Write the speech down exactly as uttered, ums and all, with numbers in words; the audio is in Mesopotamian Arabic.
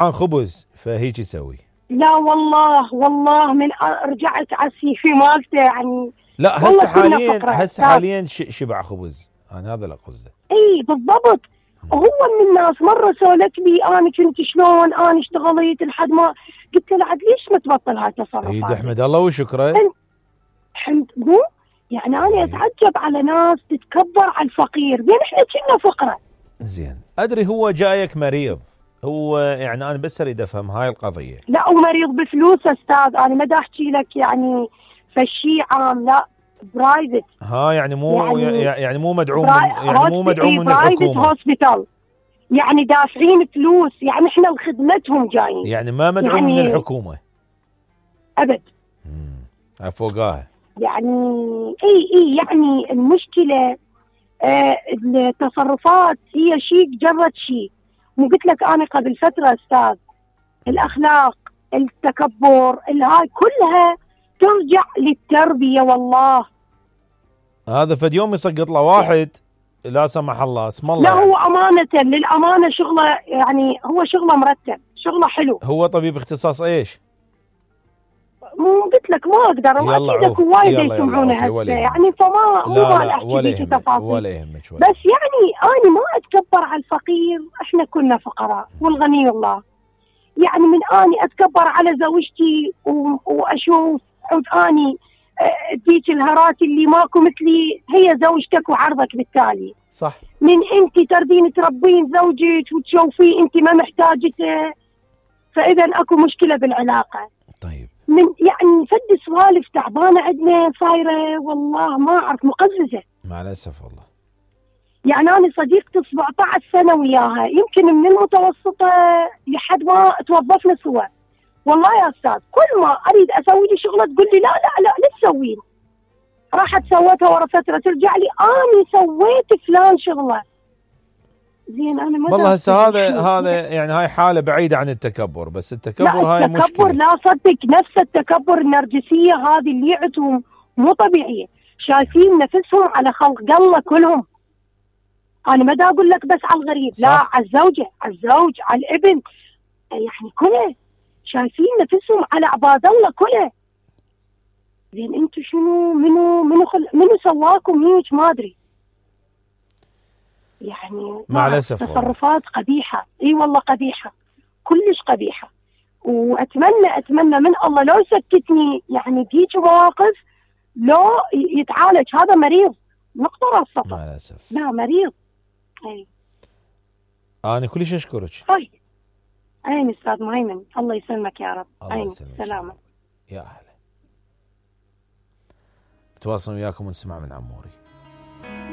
عن خبز فهيك يسوي. لا والله والله من رجعت على السيفي مالته يعني. لا هسه حاليا هسه حاليا شبع خبز، انا هذا اللي قصده. اي بالضبط. هو من الناس مره سولت لي انا كنت شلون انا اشتغلت لحد ما قلت له عاد ليش ما تبطل هاي التصرفات؟ اي احمد الله وشكره. حمد مو يعني انا اتعجب على ناس تتكبر على الفقير، زين احنا كنا فقره. زين ادري هو جايك مريض، هو يعني انا بس اريد افهم هاي القضيه. لا ومريض بفلوس استاذ، انا ما دا احكي لك يعني فشي عام، لا برايفت. ها يعني مو يعني, يعني مو مدعوم من يعني مو مدعوم من الحكومه. هوسبيتال يعني دافعين فلوس، يعني احنا لخدمتهم جايين، يعني ما مدعوم يعني من الحكومه ابد. امم فوقاها يعني اي اي يعني المشكله آه التصرفات هي شيء جرت شيء. مو قلت لك انا قبل فتره استاذ الاخلاق التكبر الهاي كلها ترجع للتربيه. والله هذا فد يوم يسقط له واحد لا سمح الله اسم الله. لا يعني. هو امانه للامانه شغله يعني هو شغله مرتب، شغله حلو. هو طبيب اختصاص ايش؟ مو قلت لك ما اقدر، واكيد اكو وايد يسمعونه هسه يعني، فما مو ما احكي فيك تفاصيل ولا يهمك بس يعني انا ما اتكبر على الفقير، احنا كنا فقراء والغني الله. يعني من اني اتكبر على زوجتي واشوف اني اديك الهرات اللي ماكو مثلي، هي زوجتك وعرضك بالتالي. صح. من انت تردين تربين زوجك وتشوفيه انت ما محتاجته، فاذا اكو مشكله بالعلاقه. طيب. من يعني فد سوالف تعبانه عندنا صايره والله ما اعرف مقززه. مع الاسف والله. يعني انا صديقتي سبعة عشر سنه وياها، يمكن من المتوسطه لحد ما توظفنا سوا. والله يا استاذ كل ما اريد اسوي لي شغله تقول لي لا لا لا لا تسوين. راحت سوتها ورا فتره ترجع لي انا سويت فلان شغله. زين انا ما والله هسه هذا هذا يعني هاي حاله بعيده عن التكبر، بس التكبر هاي مشكله. التكبر لا صدق نفس التكبر النرجسيه هذه اللي عندهم مو طبيعيه، شايفين نفسهم على خلق الله كلهم. انا ما دا اقول لك بس على الغريب، لا على الزوجه على الزوج على الابن، يعني كله شايفين نفسهم على عباد الله كله. زين انتم شنو منو منو خل... منو سواكم هيك ما ادري. يعني مع الاسف تصرفات قبيحه، اي والله قبيحه كلش قبيحه. واتمنى اتمنى من الله لو يسكتني يعني بهيك مواقف، لو يتعالج. هذا مريض نقطه راس سطر. مع الاسف لا مريض. اي انا كلش اشكرك. طيب عين استاذ مهيمن، الله يسلمك يا رب. عين سلامه يا اهلا. بتواصل وياكم ونسمع من عموري.